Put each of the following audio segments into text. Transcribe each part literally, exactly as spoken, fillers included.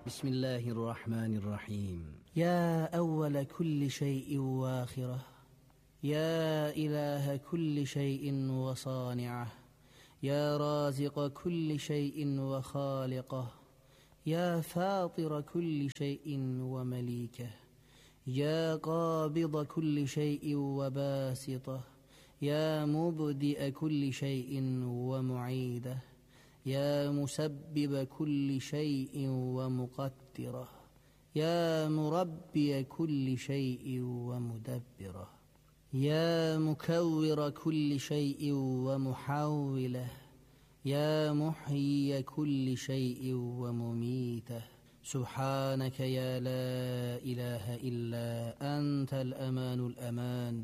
بسم الله الرحمن الرحيم. يا أول كل شيء وآخره، يا إله كل شيء وصانعه، يا رازق كل شيء وخالقه، يا فاطر كل شيء ومليكه، يا قابض كل شيء وباسطه، يا مبدئ كل شيء ومعيده، يا مسبب كل شيء ومقدره، يا مربي كل شيء ومدبره، يا مكور كل شيء ومحوله، يا محيي كل شيء ومميته، سبحانك يا لا إله إلا أنت الأمان الأمان،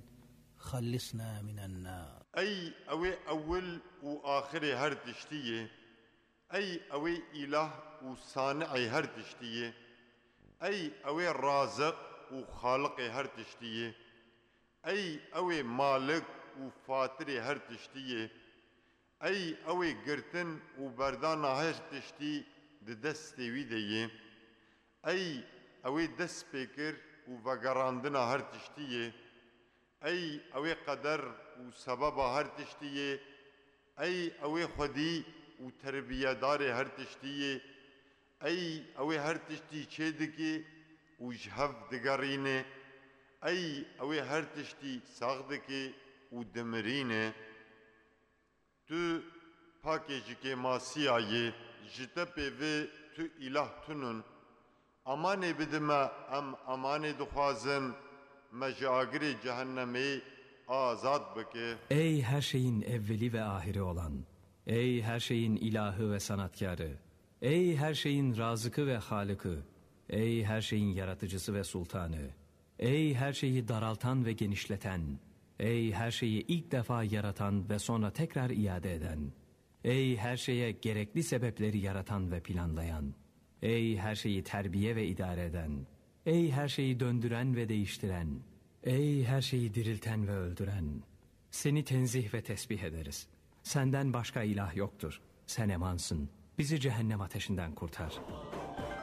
خلصنا من النار. Ey ew ê ewil û axirê her tiştî yê. Ey ew ê îlah û sani'ê her tiştî yê. Ey ew ê raziq û xaliqê her tiştî yê. Ey ew ê malik û fatirê her tiştî yê. Ey ew ê girtin û berdana her tiştî di destê wî de yê. Ey ew ê destpêkir û vegerandina her tiştî yê. Ey ew ê qeder û sebeba her tiştî yê. Ey ew ê xwedî û terbiyedarê her tiştî yê. Ey ew ê her tiştî çêdikê û ji hev digerîne. Ey ew ê her tiştî sax dike û dimirîne. Tu pakê ji kêmasiya yê, ji te pê vê tu îlah tunun. Amanê bidi me, em amanê dixwazin, me ji agirê cehennemê azad bike. Ey her şeyin evveli ve ahiri olan, ey her şeyin ilahı ve sanatkarı, ey her şeyin razıkı ve halıkı, ey her şeyin yaratıcısı ve sultanı, ey her şeyi daraltan ve genişleten, ey her şeyi ilk defa yaratan ve sonra tekrar iade eden, ey her şeye gerekli sebepleri yaratan ve planlayan, ey her şeyi terbiye ve idare eden, ey her şeyi döndüren ve değiştiren, ey her şeyi dirilten ve öldüren, seni tenzih ve tesbih ederiz. Senden başka ilah yoktur. Sen emansın. Bizi cehennem ateşinden kurtar.